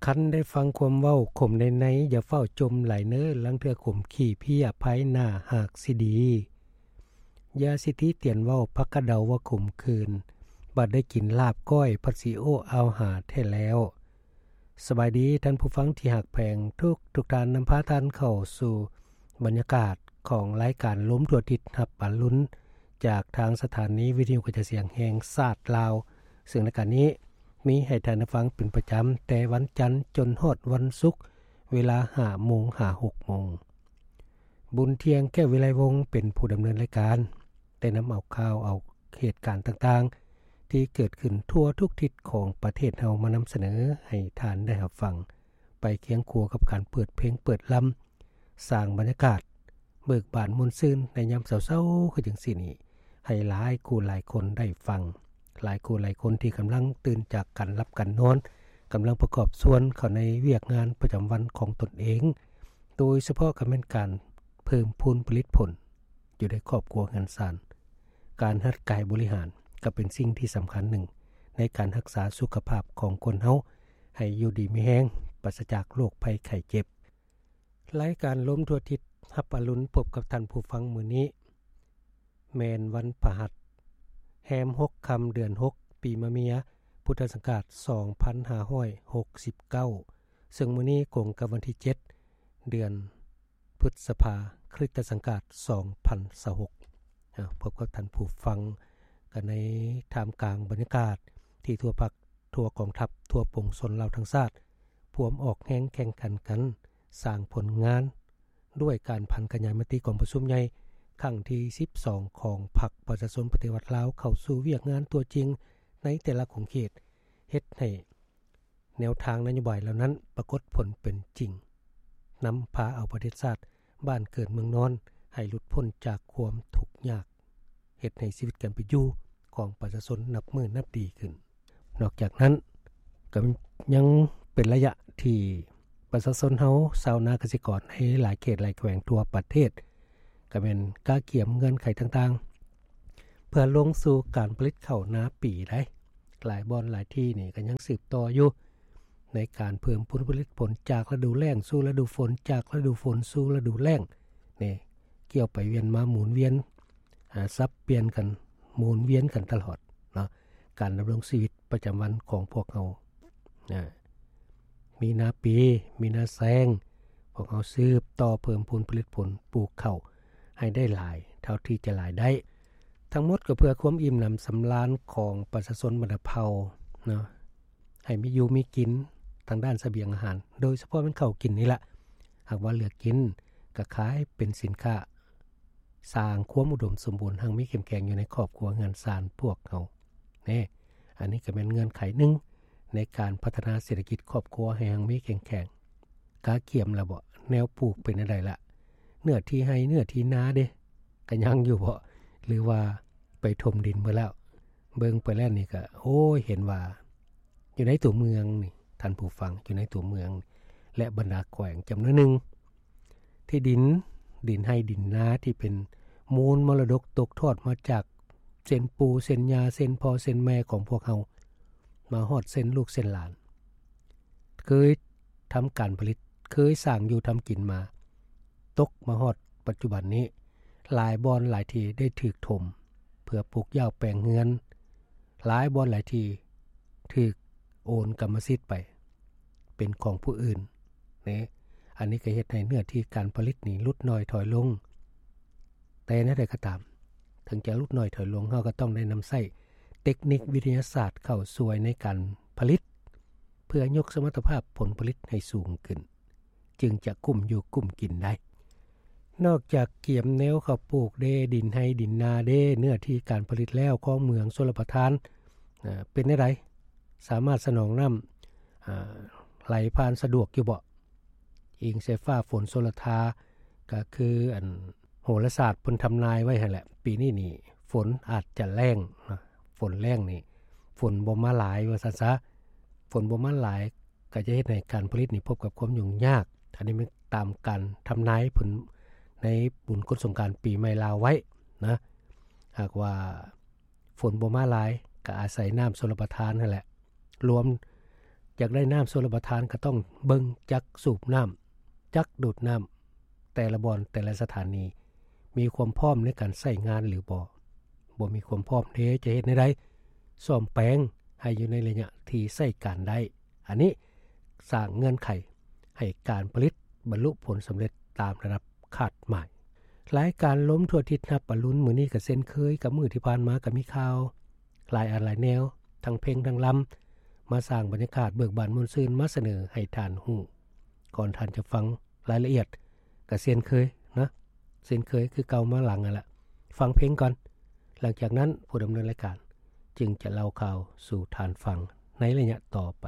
ຄັນໄດ້ຟັງຄວາມເວົ້າຂົມໃນໃນ ຢ່າຟ້າວຈົ່ມຫຼາຍເນີ ລາງເທື່ອຂົມຂີ້ເພຍ ພາຍໜ້າຫາກຊິດີ. ຢ່າສິຕິຕຽນເວົ້າ ພັກກະເດົາວ່າຂົມຂືນ ບັດໄດ້ກິນລາບກ້ອຍ ພັດຊິໂອ້ອາວຫາແທ້ແລ້ວ. ສະບາຍດີທ່ານຜູ້ຟັງທີ່ຮັກແພງ ທຸກໆທ່ານ, ນຳພາທ່ານເຂົ້າສູ່ບັນຍາກາດຂອງລາຍການລົມທົ່ວທິດ ຮັບອາລຸນ ຈາກທາງສະຖານີວິທະຍຸກະຈາຍສຽງແຫ່ງຊາດລາວ, ເຊິ່ງລາຍການນີ້ມີໃຫ້ທ່ານໄດ້ຟັງເປັນປະຈຳ ແຕ່ວັນຈັນຈົນຮອດວັນສຸກ ເວລາຫ້າໂມງຫາຫົກໂມງ. ບຸນທ່ຽງ ແກ້ວວິໄລວົງ ເປັນຜູ້ດຳເນີນລາຍການ, ໄດ້ນຳເອົາຂ່າວເອົາເຫດການຕ່າງໆ ທີ່ເກີດຂຶ້ນທົ່ວທຸກທິດຂອງປະເທດເຮົາ ມານຳສະເໜີໃຫ້ທ່ານໄດ້ຮັບຟັງ, ໄປຄຽງຄູ່ກັບການເປີດເພງເປີດລຳ, ສ້າງບັນຍາກາດເບີກບານມ່ວນຊື່ນໃນຍາມເຊົ້າໆ ຄືຈັ່ງຊີ້ນີ້ ໃຫ້ຫຼາຍຄູ່ຫຼາຍຄົນໄດ້ຟັງ, ຫຼາຍຄູ່ຫຼາຍຄົນທີ່ກຳລັງຕື່ນຈາກການຫຼັບການນອນ, ກຳລັງປະກອບສ່ວນເຂົ້າໃນວຽກງານປະຈຳວັນຂອງຕົນເອງ, ໂດຍສະເພາະກໍແມ່ນການເພີ່ມພູນຜະລິດຜົນຢູ່ໃນຄອບຄົວເຮືອນຊານ. ການຫັດກາຍບໍລິຫານກໍເປັນສິ່ງທີ່ສຳຄັນໜຶ່ງໃນການຮັກສາສຸຂະພາບຂອງຄົນເຮົາ ໃຫ້ຢູ່ດີມີແຮງ, ປາສະຈາກໂລກໄພໄຂ້ເຈັບ. ລາຍການລົມທົ່ວທິດ ຮັບອາລຸນພົບກັບທ່ານຜູ້ຟັງມື້ນີ້ ແມ່ນວັນພະຫັດ ແຮມຫົກຄ່ຳເດືອນຫົກ ປີມະເມຍ ພຸດທະສັກກະລາດສອງພັນຫ້າຮ້ອຍຫົກສິບເກົ້າ ເຊິ່ງມື້ນີ້ກົງກັບວັນທີເຈັດ ເດືອນພຶດສະພາ ຄຣິສຕະສັກກະລາດສອງພັນຊາວຫົກ. ອາ ພົບກັບທ່ານຜູ້ຟັງກັນໃນທ່າມກາງບັນຍາກາດທີ່ທົ່ວພັກ ທົ່ວກອງທັບ ທົ່ວປວງຊົນລາວທັງຊາດ ພວມອອກແຮງແຂ່ງຂັນກັນ ສ້າງຜົນງານ ດ້ວຍການຜັນຂະຫຍາຍມະຕິກອງປະຊຸມໃຫຍ່ຄັ້ງທີສິບສອງ ຂອງພັກປະຊາຊົນປະຕິວັດລາວ ເຂົ້າສູ່ວຽກງານຕົວຈິງໃນແຕ່ລະຂົງເຂດ, ເຮັດໃຫ້ແນວທາງນະໂຍບາຍເຫຼົ່ານັ້ນປາກົດຜົນເປັນຈິງ, ນຳພາເອົາປະເທດຊາດ ບ້ານເກີດເມືອງນອນ ໃຫ້ຫຼຸດພົ້ນຈາກຄວາມທຸກຍາກ, ເຮັດໃຫ້ຊີວິດການເປັນຢູ່ຂອງປະຊາຊົນນັບມື້ນັບດີຂຶ້ນ. ນອກຈາກນັ້ນ ກໍຍັງເປັນໄລຍະທີ່ປະຊາຊົນເຮົາ ຊາວນາກະສິກອນໃນຫຼາຍເຂດຫຼາຍແຂວງທົ່ວປະເທດ ກໍແມ່ນກະກຽມເງື່ອນໄຂຕ່າງໆ ເພື່ອລົງສູ່ການຜະລິດເຂົ້ານາປີໄດ໋. ຫຼາຍບ່ອນຫຼາຍທີ່ນີ້ກໍຍັງສືບຕໍ່ຢູ່ ໃນການເພີ່ມຜົນຜະລິດຜົນຈາກລະດູແລ້ງສູ່ລະດູຝົນ, ຈາກລະດູຝົນສູ່ລະດູແລ້ງນີ້ ກ່ຽວໄປວຽນມາໝູນວຽນ ອາ ສັບປ່ຽນກັນ ໝູນວຽນກັນຕະຫຼອດເນາະ. ການດຳລົງຊີວິດປະຈຳວັນຂອງພວກເຮົາ ອາ ມີນາປີ ມີນາແຊງ, ພວກເຮົາສືບຕໍ່ເພີ່ມພູນຜະລິດຜົນ ປູກເຂົ້າໃຫ້ໄດ້ຫຼາຍເທົ່າທີ່ຈະຫຼາຍໄດ້. ທັງໝົດກໍເພື່ອຄວາມອີ່ມໜຳສຳລານຂອງປະຊາຊົນບັນດາເຜົ່າເນາະ, ໃຫ້ມີຢູ່ມີກິນທາງດ້ານສະບຽງອາຫານ, ໂດຍສະເພາະແມ່ນເຂົ້າກິນນີ້ລະ. ຫາກວ່າເຫຼືອກິນກໍຂາຍເປັນສິນຄ້າ, ສ້າງຄວາມອຸດົມສົມບູນຮັ່ງມີເຂັ້ມແຂງຢູ່ໃນຄອບຄົວເຮືອນຊານພວກເຮົາແນ່. ອັນນີ້ກໍແມ່ນເງື່ອນໄຂໜຶ່ງໃນການພັດທະນາເສດຖະກິດຄອບຄົວໃຫ້ຮັ່ງມີເຂັ້ມແຂງ. ກະກຽມລະເບາະ? ແນວປູກເປັນແນວໃດລະ? ເນື້ອທີ່ໄຮ່ເນື້ອທີ່ນາເດ ກະຍັງຢູ່ເບາະ? ຫຼືວ່າໄປຖົມດິນເບິດແລ້ວ? ເບິ່ງໄປແລ້ວນີ້ກະ ໂອ້ຍ ເຫັນວ່າຢູ່ໃນຕົວເມືອງນີ້ ທ່ານຜູ້ຟັງ, ຢູ່ໃນຕົວເມືອງ ແລະ ບັນດາແຂວງຈຳນວນໜຶ່ງ ທີ່ດິນ, ດິນໄຮ່ດິນນາທີ່ເປັນມູນມໍລະດົກຕົກທອດມາຈາກເຊັ່ນປູ່ເຊັ່ນຍ່າ ເຊັ່ນພໍ່ເຊັ່ນແມ່ຂອງພວກເຮົາ ມາຮອດເຊັ່ນລູກເຊັ່ນຫຼານ ເຄີຍທຳການຜະລິດ, ເຄີຍສ້າງຢູ່ທຳກິນມາ, ຕົກມາຮອດປັດຈຸບັນນີ້ ຫຼາຍບ່ອນຫຼາຍທີ່ໄດ້ຖືກຖົມເພື່ອປູກຢາວແປງເຮືອນ, ຫຼາຍບ່ອນຫຼາຍທີ່ຖືກໂອນກຳມະສິດໄປເປັນຂອງຜູ້ອື່ນເນ. ອັນນີ້ກໍເຮັດໃຫ້ເນື້ອທີ່ການຜະລິດນີ້ຫຼຸດໜ້ອຍຖອຍລົງ. ແຕ່ແນວໃດກໍຕາມ, ເຖິງຈະຫຼຸດໜ້ອຍຖອຍລົງ, ເຮົາກໍຕ້ອງໄດ້ນຳໃຊ້ເຕັກນິກວິທະຍາສາດເຂົ້າຊ່ວຍໃນການຜະລິດ ເພື່ອຍົກສະມັດຕະພາບຜົນຜະລິດໃຫ້ສູງຂຶ້ນ, ຈຶ່ງຈະກຸ້ມຢູ່ກຸ້ມກິນໄດ້. ນອກຈາກກຽມແນວເຂົ້າປູກເດ, ດິນໄຮ່ດິນນາເດ, ເນື້ອທີ່ການຜະລິດແລ້ວ, ຄອງເມືອງຊົນລະປະທານ ເປັນແນວໃດ? ສາມາດສະໜອງນ້ຳ ໄຫຼຜ່ານສະດວກຢູ່ເບາະ? ອີງໃສ່ຟ້າຝົນໂຊລະທາ ກໍຄືອັນໂຫລະສາດເພິ່ນທຳນາຍໄວ້ຫັ້ນແຫຼະ, ປີນີ້ນີ້ຝົນອາດຈະແລ້ງ, ຝົນແລ້ງນີ້ ຝົນບໍ່ມາຫຼາຍວ່າຊັ້ນຊະ. ຝົນບໍ່ມາຫຼາຍກໍຈະເຮັດໃຫ້ການຜະລິດນີ້ພົບກັບຄວາມຫຍຸ້ງຍາກ. ອັນນີ້ແມ່ນຕາມການທຳນາຍເພິ່ນໃນບຸນກົດສົງການປີໃໝ່ລາວໄວ້ນະ. ຫາກວ່າຝົນບໍ່ມາຫຼາຍ ກໍອາໄສນ້ຳຊົລປະທານຫັ້ນແຫຼະ, ລວມ ຢາກໄດ້ນ້ຳຊົລປະທານ ກໍຕ້ອງເບິ່ງຈັກສູບນ້ຳ ຈັກດູດນ້ຳ ແຕ່ລະບ່ອນ ແຕ່ລະສະຖານີ ມີຄວາມພ້ອມໃນການໃຊ້ງານຫຼືບໍ່. ບໍ່ມີຄວາມພ້ອມເດ ຈະເຮັດແນວໃດ ສ້ອມແປງໃຫ້ຢູ່ໃນໄລຍະທີ່ໃຊ້ການໄດ້. ອັນນີ້ສ້າງເງື່ອນໄຂໃຫ້ການຜະລິດບັນລຸຜົນສຳເລັດຕາມລະດັບຄາດໝາຍ. ລາຍການລົມທົ່ວທິດຮັບອະລຸນມື້ນີ້ກໍເຊັ່ນເຄີຍກັບມື້ທີ່ຜ່ານມາ ກໍມີຂ່າວຫຼາຍອັນຫຼາຍແນວ ທັງເພງທັງລຳ ມາສ້າງບັນຍາກາດເບີກບານມ່ວນຊື່ນ ມາສະເໜີໃຫ້ທ່ານຮູ້. ກ່ອນທ່ານຈະຟັງລາຍລະອຽດ ກໍເຊັ່ນເຄີຍນະ ເຊັ່ນເຄີຍຄືເກົ່າມາຫຼັງຫັ້ນລະ ຟັງເພງກ່ອນ. ຫຼັງຈາກນັ້ນ ຜູ້ດຳເນີນລາຍການຈຶ່ງຈະເລົ່າຂ່າວສູ່ທ່ານຟັງໃນໄລຍະຕໍ່ໄປ.